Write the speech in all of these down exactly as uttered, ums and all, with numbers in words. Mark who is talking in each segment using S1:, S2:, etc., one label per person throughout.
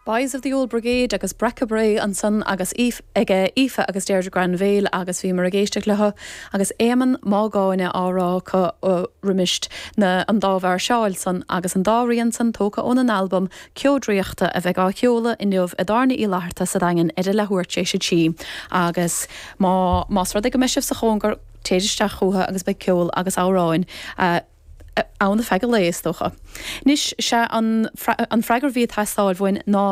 S1: Boys of the Old Brigade agus Breaca Bré ansan agus ag Aoife agus Deirdre Granville agus bhíomar ag éisteacht leo agus Éamonn Mágáine á rá roimis na an dá mháirseáil san agus an dá rian san tógtha óna n-albam Ceo Draíochta a bheidh á sheoladh inniu i dTábhairne Uí Fhlatharta sa Daingean ar a leathuair tar éis a trí agus má más rud é go mbeidh sibh sa chóngar téir isteach chucu agus beidh ceol agus amhráin. Uh, ann feadh an lae is dócha. Anois sé an, an freagra a bhí ag teastáil uainn ná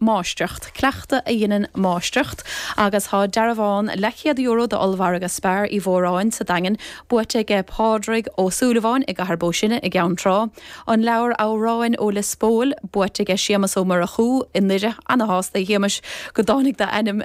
S1: máistreacht, cleachtadh a dhéanann máistreacht agus tá dearbhán leathchéad euro d'ollmhargadh Spar Uí Mhóráin sa Daingean buaite aige Pádraig Ó Súilleabháin i gCathair Bó Sine i gCeann Trá. An leabhar amhráin ó Lios Póil buaite aige Séamus Ó Murchú i nDoire ana-shásta a Shéamais go dtáinig d'ainm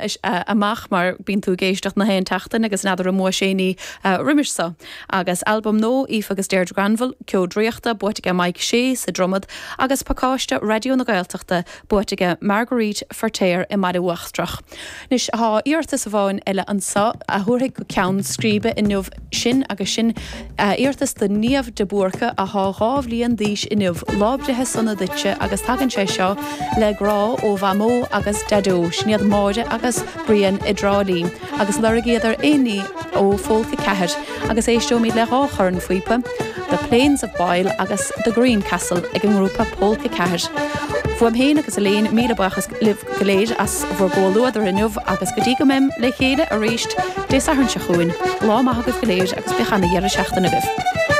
S1: amach mar bíonn tú ag éisteacht na haon tseachtain agus n'fheadar an mbua sé ní roimis seo. Agus albam nua Aoife agus Deirdre Granville Ceo Draíochta buaite aige Mike Shea sa Dromad agus pacáiste Raidió na Gaeltachta buaite aige Marguerite Feirtéar i mBaile Uachtrach. Anois tá iarratas amháin eile anseo a thabharfaidh go ceann scríbe inniu sin agus sin iarratas do Niamh de Búrca atá dhá bhliain d'aois inniu lá breithe sona duitse agus tagann sé seo le grá ó Mhamó agus Daideo sin iad Máire agus Brian i dTrá Lí agus lorgaíodar aon ní ó Phólca Ceathair agus éisteoimid le dhá chornphíopa, The Plains of Boyle agus The Green Castle ag an ngrúpa Pólca Ceathair. Fuaim féin agus Elaine míle buíochas libh go léir as bhur gcomhluadar inniu agus go dtí go mbeim le chéile arís Dé Sathairn seo chugainn, lá maith agaibh go léir agus bíodh ana dheireadh seachtaine agaibh.